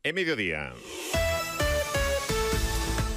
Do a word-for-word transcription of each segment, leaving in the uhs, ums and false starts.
E mediodía.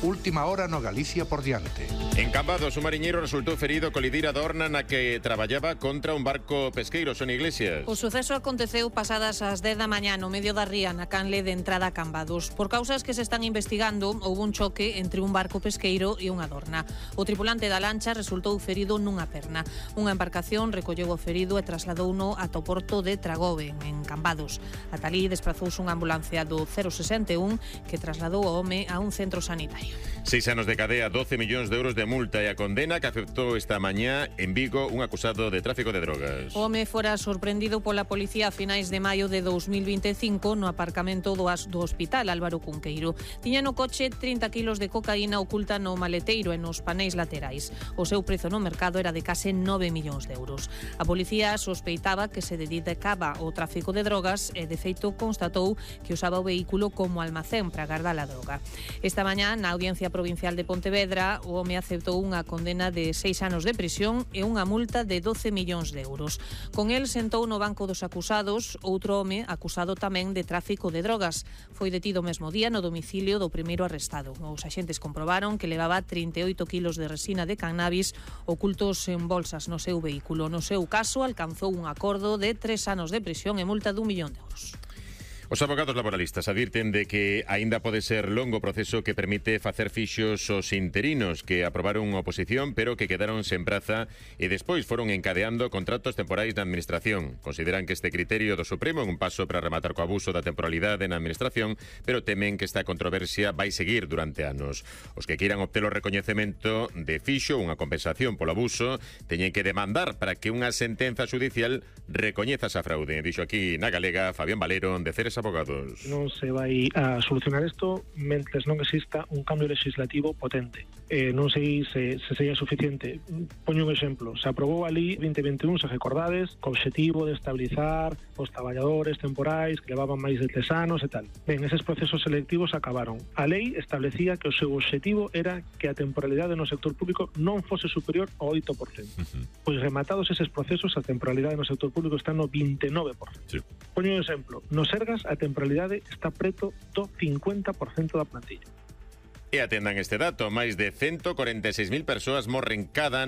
Última hora no Galicia por diante. En Cambados, un mariñeiro resultou ferido ao colidir a dorna na que traballaba contra un barco pesqueiro. Son Iglesias. O suceso aconteceu pasadas as dez da mañá no medio da ría na canle de entrada a Cambados. Por causas que se están investigando, houve un choque entre un barco pesqueiro e unha dorna. O tripulante da lancha resultou ferido nunha perna. Unha embarcación recolleu o ferido e trasladouno ata o porto de Tragoven, en Cambados. Ata alí desprazouse unha ambulancia do cero sesenta e un que trasladou o home a un centro sanitario. Seis anos de cadea, doce millóns de euros de multa e a condena que aceptou esta mañá en Vigo un acusado de tráfico de drogas. O home fora sorprendido pola policía a finais de maio de dous mil vinte e cinco no aparcamento do, do hospital Álvaro Cunqueiro. Tiña no coche trinta kilos de cocaína oculta no maleteiro e nos paneis laterais. O seu prezo no mercado era de case nove millóns de euros. A policía sospeitaba que se dedicaba ao tráfico de drogas e, de feito, constatou que usaba o vehículo como almacén para guardar a droga. Esta mañá, na Audiencia Provincial de Pontevedra, o home aceptou unha condena de seis anos de prisión e unha multa de doce millóns de euros. Con el sentou no banco dos acusados outro home acusado tamén de tráfico de drogas. Foi detido o mesmo día no domicilio do primeiro arrestado. Os axentes comprobaron que levaba trinta e oito kilos de resina de cannabis ocultos en bolsas no seu vehículo. No seu caso, alcanzou un acordo de tres anos de prisión e multa dun millón de euros. Os abogados laboralistas advirten de que aínda pode ser longo o proceso que permite facer fixos os interinos que aprobaron unha oposición pero que quedaron sen praza e despois foron encadeando contratos temporais da Administración. Consideran que este criterio do Supremo é un paso para rematar co abuso da temporalidade na Administración, pero temen que esta controversia vai seguir durante anos. Os que queiran obter o recoñecemento de fixo, unha compensación polo abuso, teñen que demandar para que unha sentenza judicial recoñeza esa fraude. Dixo aquí na Galega Fabián Valero, de Ceres Abogados. Non se vai a solucionar isto mentres non exista un cambio legislativo potente. Eh, non sei se, se sería suficiente. Poño un exemplo. Se aprobou a Lei vinte vinte e un, se recordades, co obxectivo de estabilizar os traballadores temporais que levaban máis de tres anos e tal. Ben, eses procesos selectivos acabaron. A lei establecía que o seu obxectivo era que a temporalidade no sector público non fose superior ao oito por cento. Uh-huh. Pois rematados eses procesos, a temporalidade no sector público está no vinte e nove por cento. Sí. Poño un exemplo. No Sergas a temporalidade está preto do cincuenta por cento da plantilla. E atendan este dato, máis de ciento cuarenta e seis mil persoas morren cada